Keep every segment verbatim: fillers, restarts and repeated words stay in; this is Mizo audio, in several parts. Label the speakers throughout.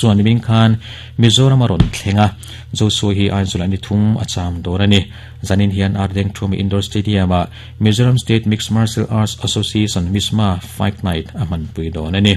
Speaker 1: Chuan nimin khan Mizoram a rawn thleng a, Joshua hi Aizawl ah ni thum a cham dawn a ni. Zanin hian Ardengthumi Indoor Stadium ah Mizoram State Mixed Martial Arts Association, MISMA, Fight Night a hmanpui dawn a ni.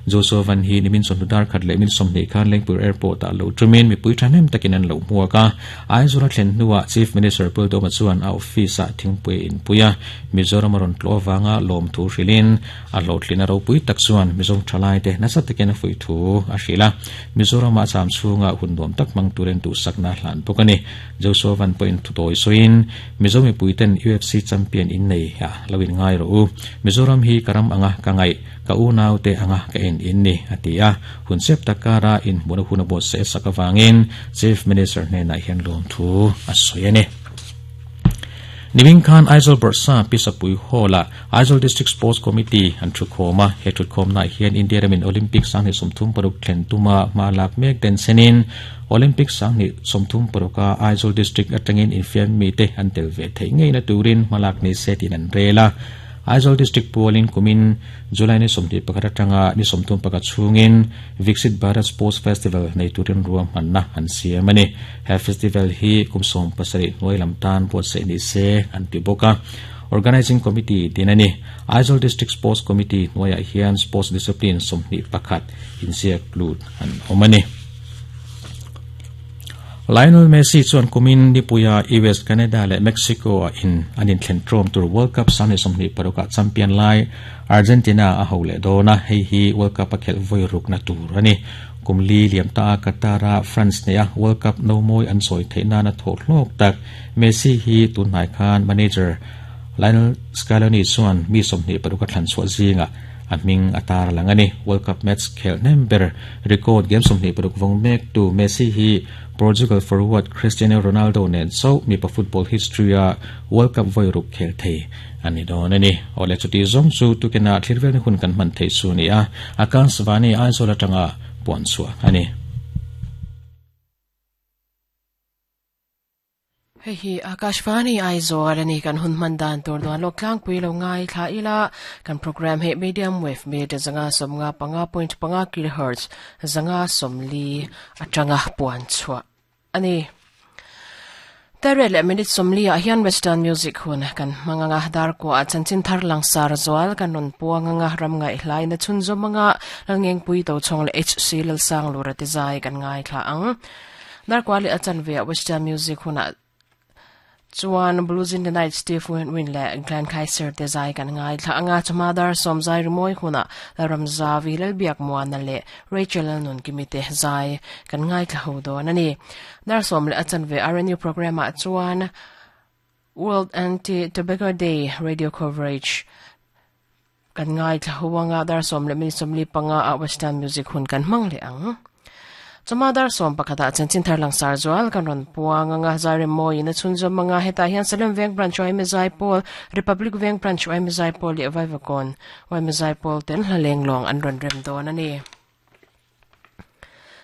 Speaker 1: Joshua Van hi nimin chawhnu dar khat leh min sawmhnih khan Lengpui Airport ah lo tumin mipui thahnem takin an lo hmuak a. Aizawl a thlen hnuah Chief Minister Pul Doma chuan a office ah thingpui a inpui a, Mizoram a rawn tlawh avanga lawmthu hrilhin a hlawhtlin a ropui tak chuan Mizo thalaite nasa takin a fuih thu a hrilh a. Mizoram ah cham chhunga hun nuam tak hmang turin duhsakna a hlan bawk a ni. Joshua Van pawhin thutawi sawiin Mizo mipuiten U F C champion innei ah lo in ngai rawh u. Mizoram hi ka ram anga ka ngaih, ka unau te anga ka en in ni a ti a. Hun sep takara in hmuna hun a buat se sak awangin Chief Minister hnenah hian lawmthu a sawi a ni. Nimin khan Aizawl Bawrhsa Pisapui Hall ah Aizawl District Sports Committee an thukhawm a. He thukhawmna hian India ramin Olympic sanghnih sawmthum paruk thlen tuma hma lak mek den senin Olympic sanghnih sawmthum paruka Aizawl District atangin infiam mi te an tel ve theih ngeina turin hma lak ni se tin an rel a. Aizawl District pualin kumin July ni sawmhnih pakhat atanga ni sawmthum pakhat chhungin Viksit Bharat Sports Festival nei turin ruam hmanna an siam a ni. He festival hi kum sawm pasarih hnuai lam tan buatsaih ni se an ti bawk a. Organizing Committee din a ni. Aizawl District Sports Committee hnuaiah hian sports discipline sawmhnih pakhat inziak lut an awm a ni. Lionel Messi chuan kumin nipuia U S, Canada leh Mexico a in an inthlen trawm tur World Cup sanghnih sawmhnih parukah champion lai Argentina a ho leh dawn a. Hei hi World Cup a khelh vawi rukna tur a ni. Kum li liam ta a Qatar a France nei a World Cup no mawi an sawi theih nan a thawh hlawk tak. Messi hi tunhnai khan manager Lionel Scaloni chuan mi sawmhnih paruk a thlan chhuah zinga a hming a tar lang a ni. World Cup match khel hnem ber record game sawmhnih paruk vawng mek tu Messi hi Portugal forward Cristiano Ronaldo nen chauh mipa football history a World Cup vawi ruk khel thei ani dawn a ni. Awle chuti zawng chu tukina thlir vel ni hun kan hman thei chu ni a. Akashvani Aizawl atanga puan chhuah a ni.
Speaker 2: Hei hi Akashvani Aizawl ani kan hun man dan tur duan lok tlang pui lo ngai thla ila kan program he medium wave meter zanga somnga panga point panga kilohertz zanga somli atanga puan chhuah ani. Tere le minute somli a hian Western music hun kan manganga dar ko a chanchin thar lang sar zawal kan ron puanga ram ngai hlai na chun zomanga langeng pui to chong le H C lal sang lura ti zai kan ngai thla ang. Dar kwa le achan ve Western music hun a chuan Blues in the Night Steve Win le Glenn Kaiser te zai kan ngai thla anga chuma dar som zai rimoi huna Ramza Vilal biak muana le Rachel nun kimite zai kan ngai thla ho do ani. Dar som le achan ve R N U program a chuan World Anti-Tobacco Day radio coverage kan ngai thla huanga dar som le min somli panga a Western music hun kan mang le ang. Chuma dar som pakhata chanchin thar lang sar zawal kan ron puanga nga zai moi na chun zom manga heta hian Salem Veng branch oi me zai pol Republic Veng branch oi me zai pol le vai vakon oi me zai pol ten hlaleng long an ron rem don ani.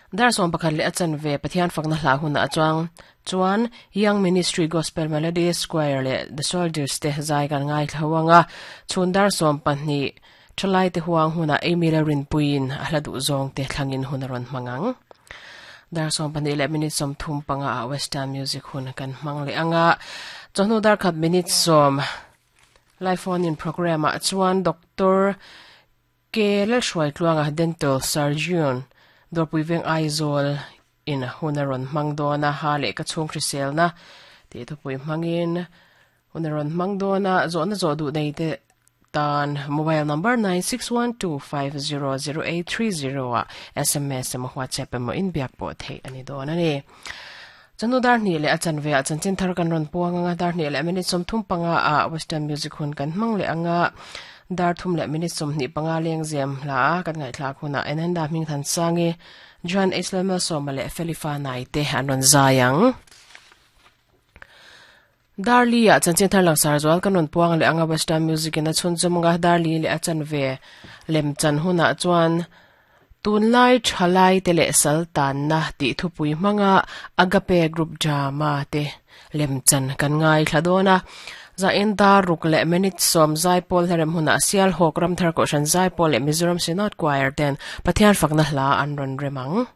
Speaker 2: Dar som pakhat le achan ve Pathian fakna hla hun a chuang chuan Young Ministry Gospel Melody Square le The Soldiers te zai kan ngai thlawanga chun dar som pahnih thalai te huang huna Amy Rin puin a hla du zong te thlangin hun ron mangang. Dar som pahnih le minute som thum panga a Western music hun kan mang le anga chawhnu dar khat minute som live phone in program a chuan Doctor K Lal Hruai Tluanga dental surgeon Dorpui Veng Aizawl in hunaron mangdona ha le ka chhung hrisel na ti thupui mangin hunaron mangdona zawhna zawh duh nei te tan mobile number nine six one two five zero zero eight three zero a S M S emaw WhatsApp emaw in biak pawh theih ani dawn ani. Chanu dar hnih leh a chanve a chanchin thar kan rawn puang anga dar hnih leh minute sawmthum panga a Western music hun kan hmang leh anga dar thum leh minute sawmhnih panga leng zem hla kan ngaihthlak hunah enanda hming than sangi John Islamel Soma leh Felifa Nai te an rawn zai ang. Darli a chanchin thar lang sar zawal kan rawn puang leh anga Western music in a chhun zawmanga darli leh a chanve lem chan hunah chuan tunlai thalai te leh sal tan na tih thupui hmanga Agape group drama te lem chan kan ngai thla dawn a. Za in dar ruk le minute som zai pawl herem huna sial hawk ram thar ko shan zai pawl le Mizoram Synod Choir ten Pathian fakna hla an ron remang.